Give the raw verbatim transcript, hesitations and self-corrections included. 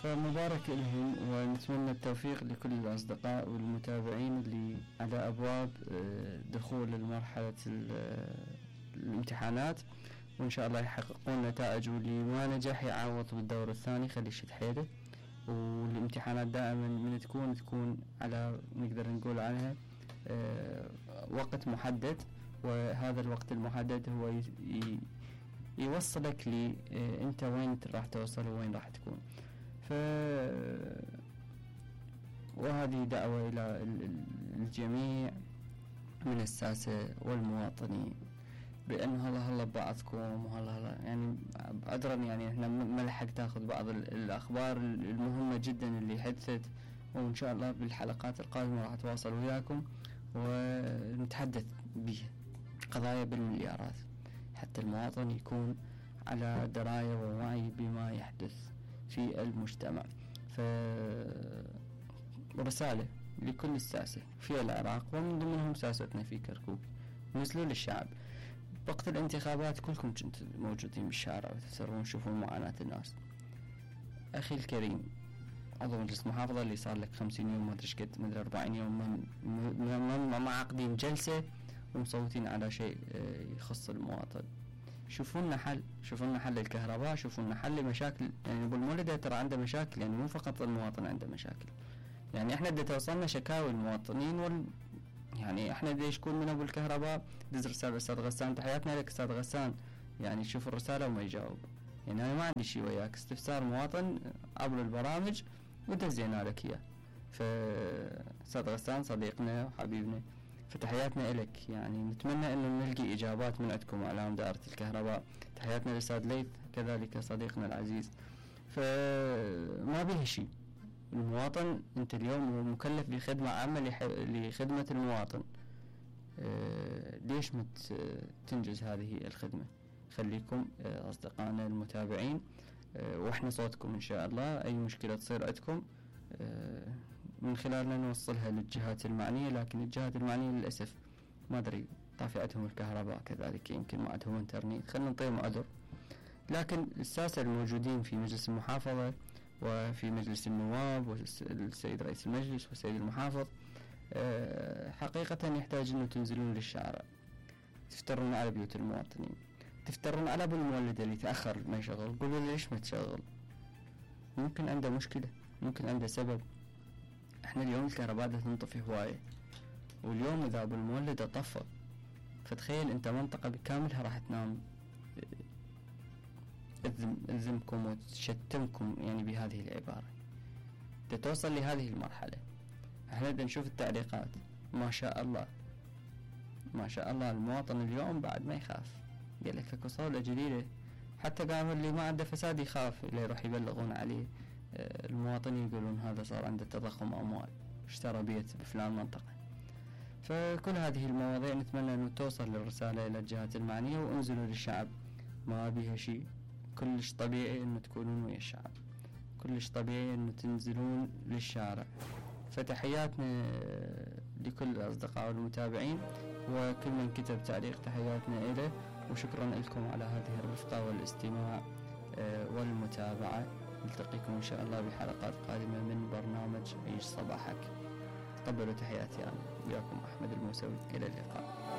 فمبارك لهم، ونتمنى التوفيق لكل الأصدقاء والمتابعين اللي على أبواب دخول المرحلة الامتحانات، وإن شاء الله يحققون نتائج، واللي ما نجح يعوض بالدور الثاني خلي يشد حيله. والامتحانات دائما من تكون تكون على نقدر نقول عنها وقت محدد، وهذا الوقت المحدد هو يوصلك لي انت وين راح توصل وين راح تكون. ف وهذه دعوة الى الجميع من الساسة والمواطنين بأنه هلا هلا ببعضكم، وهلا هلا يعني عذرا يعني احنا ما لحق تاخذ بعض الأخبار المهمة جدا اللي حدثت، وإن شاء الله بالحلقات القادمة راح أتواصل وياكم ونتحدث بها قضايا بالمليارات حتى المواطن يكون على دراية ووعي بما يحدث في المجتمع. فرسالة لكل الساسة في العراق ومن ضمنهم ساستنا في كركوك، نزلوا للشعب وقت الانتخابات، كلكم كنتم موجودين بالشارع وتسرون تشوفون معاناة الناس. أخي الكريم عضو مجلس محافظة اللي صار لك خمسين يوم ما أدري ايش قد مدري أربعين يوم ما ما عاقدين جلسة ومصوتين على شيء يخص المواطن، شوفوا لنا حل، شوفوا لنا حل الكهرباء، شوفوا لنا حل مشاكل. يعني بالمولدة ترى عنده مشاكل، يعني مو فقط المواطن عنده مشاكل، يعني احنا بدنا توصلنا شكاوي المواطنين وال يعني احنا بدنا يشكون من ابو الكهرباء دز رسالة استاذ غسان، تحياتنا لك استاذ غسان، يعني شوف الرسالة وما يجاوب. يعني انا ما عندي شيء وياك، استفسار مواطن عبر البرامج ودزينا لك اياه. فاستاذ غسان صديقنا وحبيبنا، فتحياتنا لك، يعني نتمنى انه نلقي اجابات من عندكم اعلام دائرة الكهرباء. تحياتنا للاستاذ ليث كذلك صديقنا العزيز. فما به شيء، المواطن انت اليوم مكلف بخدمة عامة لخدمة المواطن، أه ليش ما تنجز هذه الخدمة؟ خليكم أه أصدقائنا المتابعين، أه واحنا صوتكم إن شاء الله. أي مشكلة تصير عندكم أه من خلالنا نوصلها للجهات المعنية، لكن الجهات المعنية للأسف ما أدري طافئتهم الكهرباء كذلك، يمكن ما عندهم انترنت، خلنا نعطيهم عذر. لكن الساسة الموجودين في مجلس المحافظة وفي مجلس النواب والسيد رئيس المجلس والسيد المحافظ حقيقة يحتاج أنه تنزلون للشارع، تفترون على بيوت المواطنين، تفترون على أبو المولد اللي تأخر ما يشغل، قولوا ليش ما تشغل؟ ممكن عنده مشكلة، ممكن عنده سبب. احنا اليوم الكهرباء تنطفي هواية، واليوم إذا أبو المولد طفى فتخيل أنت منطقة بكاملها راح تنام، ألزمكم وتشتمكم يعني بهذه العبارة. تتوصل لهذه المرحلة، احنا بدنا نشوف التعليقات. ما شاء الله ما شاء الله المواطن اليوم بعد ما يخاف، قال لك اكو صولة جديدة، حتى قاموا اللي ما عنده فساد يخاف اللي يروح يبلغون عليه. المواطنين يقولون هذا صار عنده تضخم أموال، اشترى بيت بفلان منطقة. فكل هذه المواضيع نتمنى أن توصل للرسالة إلى الجهات المعنية، وانزلوا للشعب، ما بيها شيء، كلش طبيعي أنه تكونون ويا الشعب، كلش طبيعي أنه تنزلون للشارع. فتحياتنا لكل الأصدقاء والمتابعين، وكل من كتب تعليق تحياتنا إليه، وشكرا لكم على هذه الرفقة والاستماع والمتابعة. نلتقيكم إن شاء الله بحلقات قادمة من برنامج عيش صباحك. تقبلوا تحياتي أنا وياكم أحمد الموسوي، إلى اللقاء.